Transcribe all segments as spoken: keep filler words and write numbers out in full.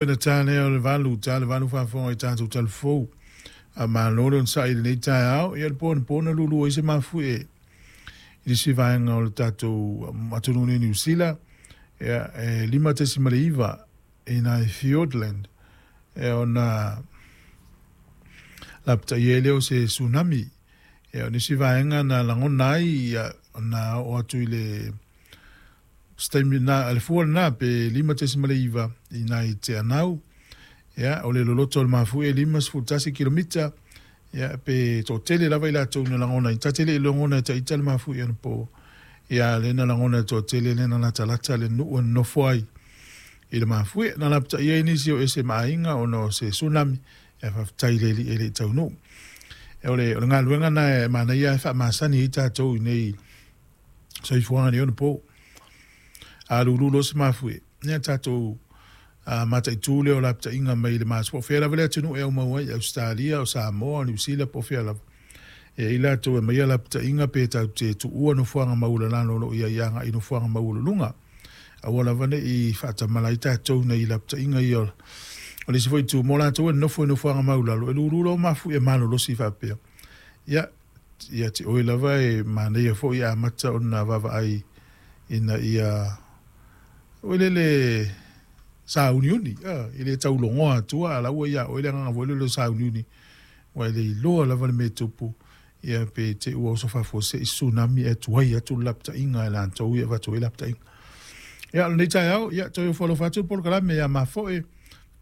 Na tā lea o le valu, tā le valu faafofoga i tatou talafou. A malo le onosai i lenei taeao, ia le po anapo na lulu ai se mafuie i le isi vaega o le tatou atunuu nei Niu Sila, ia e lima tesima le iva i nai Fiordland, e ona lapataia ai lea o se tsunami. Ia o nisi vaega na lagona ai ia, na oo atu i le se taimi na le fua lena pe lima tesima le iva i nai Te Anau. Ia o le loloto o le mafuie e lima sefulu tasi kilomita, ia pe toatele lava i latou na lagona ai. Ta te le i lagona e taita le mafuie anapo, ia lea na lagona e toatele lea na latalata le nuu e nonofo ai i le mafuie. Na lapataia ai nisi o ese ma aiga ona o se tsunami, ia faafetai i le Alii e le i taunuu. O le, o le galuega na e manaia e faamasani ai tatou i nei soifuaga nei ona po. A lulu loa se mafuie, ia tatou uh, mataitu lea o lapataiga mai le maso. Po o fea lava le atunuu e aumau ai, Ausetalia, o Samoa, o Niu Sila, po o fea lava. E i latou e aumaia lapataiga pe tatou te tuua nofoaga maualalalo o lo o i ai agai i nofoaga maualuluga. Aua lava ne i faatamala ai tatou nei lapataiga ia. O le isi foi itu mo latou e nofo i nofoaga maulalo, e lulu loa mafuie malolosi faapea. Ia, ia te oe lava e manaia foi e amata ona vaavaai ina ia o le le sauniuni, e le taulogoa atua a la ua ia oe le agaga foi lele o sauniuni, ua e le iloa lava le mea e tupu, ia pe te i ua oso faafuasei tsunami e tuai atu le lapataiga e latou ia avatu ai lapataiga. Ia, o lenei taeao, ia, toe ofo alofa atu le polokalame ia mafoe,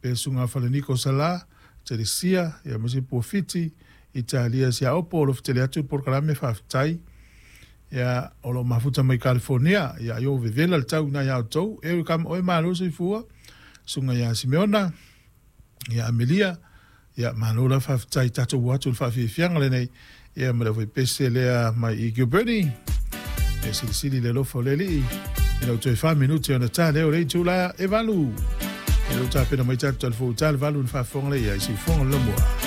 pe susuga Falaniko Sala, Telesia, ia ma se Puafiti, Italia Siaopo, o lo fetele atu le polokalame faafetai. Ia, o lo mafuta mai California, ia aio vevela le tau ina ia outou, e kama oe malo soifua, susuga ia Simeona, ia Amelia, ia malo la faafetai tatou o atu le faafiafiaga lenei, ia ma le aufaipese lea mai i Gilberti, e silisili le alofa o le Alii, ina ua toe fa minute ona ta lea o le itula e valu. E lou tapena mai tatou talafou ta le valu na faafofoga lea i siufofoga le lamua.